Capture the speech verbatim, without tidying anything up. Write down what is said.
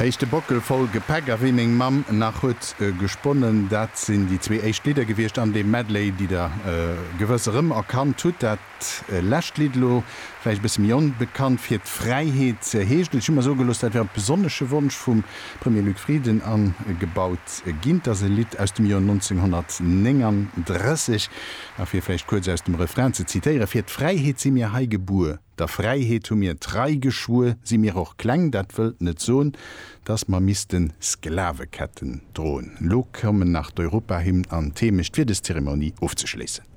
Éischte Bockel voll Gepäck a Wéi meng Mamm nach huet gesponnen, dat sinn déi zwee éischt Lidder gewiescht an deem Medley, déi der gewëss erëmerkannt hutt. Dat lescht Lidd elo vläicht e bësse méi onbekannt, Fir d'Fräiheet heescht et. Ech hu mer soe gelooss, dat wär op besonnesche Wonsch vum Premier Luc Frieden agebaut ginn. Et ass e Lidd aus dem Joer nonzénghonnertnénganddrësseg. A fir vläicht kuerz aus dem Refrain ze zitéieren, Fir d'Fräiheet si mir hei gebuer, der Fräiheet hu mir Trei geschwuer, si mir och kleng, dat wëllt net soen, dass mer misste Sklaveketten droen. Elo kommen nach d'Europahymn an d'Heemecht fir des Zeremonie ofzeschléissen.